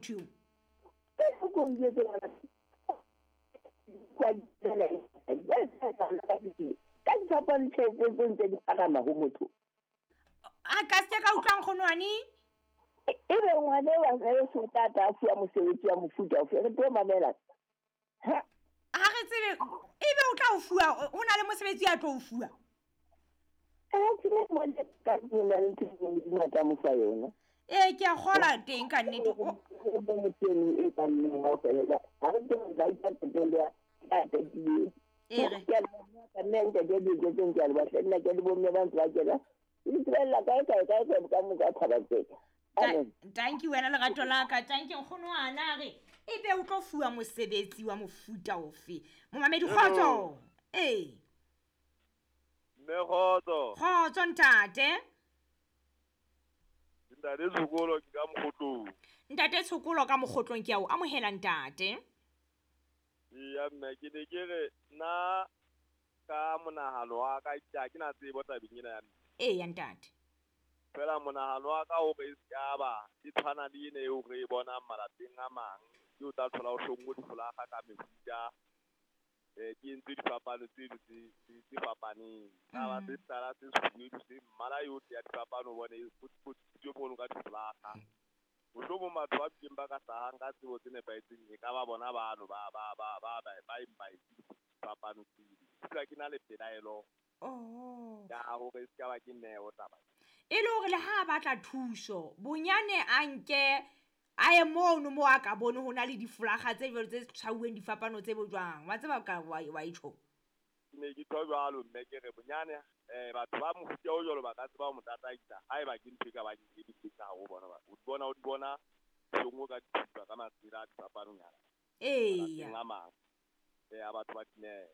Motho eo. Ka difapano tjhelete tse ntse di phagama ho motho. A ka se ka utlwang kgonwane? Ebe ngwana wa re so tata a fuwa mosebetsi wa mofuta ofe, re tlo mamela. Ha re tsebe ebe o tla o fuwa, o na le mosebetsi a tlo o fuwa. Ee, ke a kgola teng ka nnete. Tanki wena lerato la ka, tanki nkgono ana re ebe o tlo fuwa mosebetsi wa mofuta ofe? Momamedi kgotso. Ee. Mme kgotso. Kgotso ntate. Ntate Tshokolo ke ka Mokgotlong. Ntate Tshokolo ka Mokgotlong, ke a o amohela ntate. Eya mme, ke ne ke re nna ka monahano wa ka, ke ha ke na tsebo tabeng ena ya mme. Eya ntate. Fela monahano wa ka hore e se ba e tshwana le ena eo re e bonang malapeng a mang, ke o tla thola o hlonngwe difolaga ka mefuta, ke entse difapano tseno tse fapaneng. Ka ba se tala se sefubedu se mmala yohle ya difapano, o bone e potsitswe mono ka difolaga. Mohlomong batho ba bileng ba ka hlahang ka tsebo tse nepahetseng e ka ba bona bano ba eng ba etse difapano tseno. Ke utlwa ke na le pelaelo ya hore e se ka ba ke neo taba. E le hore le ha a batla thuso, bonyane a nke a ye mono mo a ka bone ho na le difolaga tse jwalo tse tshwauweng difapano tse bo jwang. Wa tseba ka wa e tjho? Ke ne ke tjho jwalo mme, ke re bonyane batho ba mofuta o jwalo ba ka tseba ho mo tataisa haeba ke ntho e ka bang e le ka ho bona. O di bona, o di bona hlonngwe ka dithupa ka masela a difapanonyana. Eya. A mang a batho ba dineo.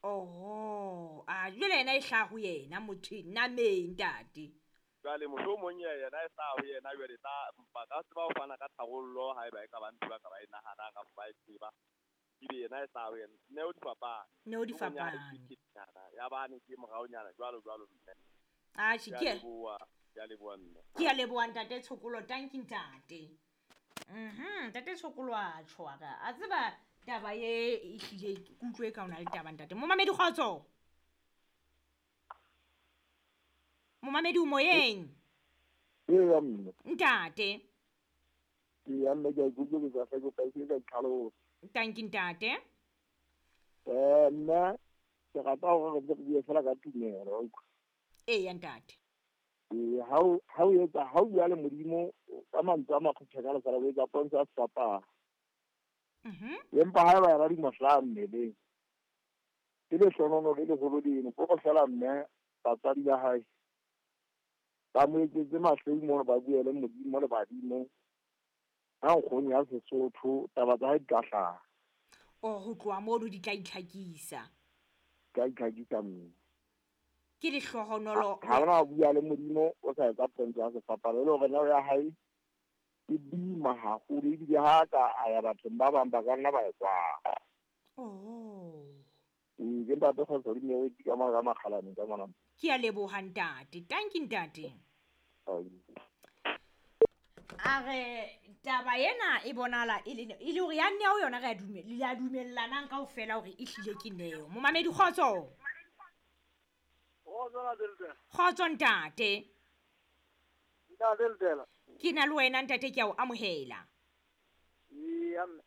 Oho, a jwale yena e hlaha ho yena motho nameng ntate. Jwale mohlomong yena e hlaha ho yena, jwale tla ba ka tseba ho fana ka tharollo haeba e ka ba ntho ba ka ba e nahanang kapa ba e tseba. Ebe yena e hlaha ho yena. Neo di fapane. Neo di fapane. Ya bane ke moraonyana jwalo jwalo mme. Atjhe, Ke a leboha, ke a leboha mme. Ke a leboha ntate Tshokolo, tanki ntate. Ntate Tshokolo a tjho a re, a tseba taba e ehlile ke utlwe ka ona le taba ntate. Momamedi kgotso. Momamedi o moyeng. Eya mme. Ntate. Eya mme, ke a ikutlwa ke sa hle ke ka tlhalosa. Tanki ntate. Nna ke rata hore re bue fela ka tumelo, wa utlwa. Eya ntate. Ee, ha o etsa, ha o bua le Modimo ka mantswe a makgutshwanyane fela, o etsa pontsho ya sefapano. Empa haeba yena di mo hlaha mmeleng, ke lehlohonolo le leholo leno, ke hore fela mme batswadi ba hae ba mo etsetse mahleu mono, ba bue le Modimo le badimo ka nkgono ya Sesotho, taba tsa hae di tla hlaha. O ho tloha mono di tla itlhakisa. Di tla itlhakisa mme. Ke lehlohonolo. Ha ona bua le Modimo o sa etsa pontsho ya sefapano, e le hore neo ya hae e boima haholo, ebile ha ka a ya bathong ba bang ba ka nna ba e kwala. Ee, ke ntate Kgotso Dineo ke ka mona ka Makgalane ka mona. Ke a leboha ntate. Tanki ntate. A re taba ena e bonahala e le hore ya neo yona re a dumellanang kaofela hore e hlile ke neo. Momamedi kgotso. Kgotso ntate. Ntate Letela. Ke na le wena ntate, ke a o amohela. Eya mme.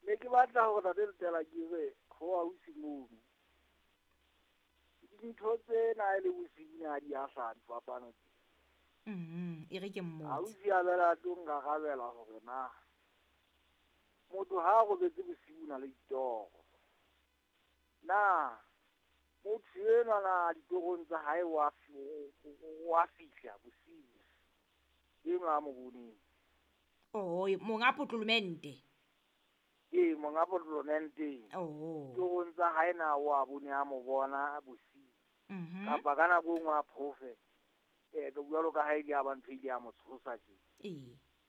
Ne ke batla hore ntate Letela ke re ho ausi mono. Dintho tsena e le bosiu na di a hlaha difapano tse. E re ke mmotse. Ausi a bela tlo nkarabela hore na motho ha a robetse bosiu na le ditoro. Na motho enwa na ditorong tsa hae wa fihla bosiu. Enwa a mo boneng. Oh, monga potlolomente. Ee, monga potlolomente. Ditorong tsa hae na wa bone a mo bona bosiu. Kapa ka nako e nngwe a phofe. Ke jwalo ka ha e le a ba ntho e ile ya mo tshosa tje.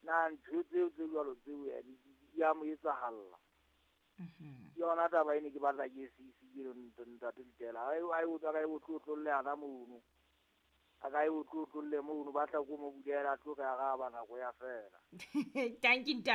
Na ntho tseo tse jwalo tseo ya di a mo etsahalla. Ke yona taba ene ke batla ke se ise ke ntate Letela. Ha e utlwa ka e botlotlolle hana mono. A ka e o tlotlolle mono, ba tla ko mo bulela, a tlo re araba nako ya fela. Thank you.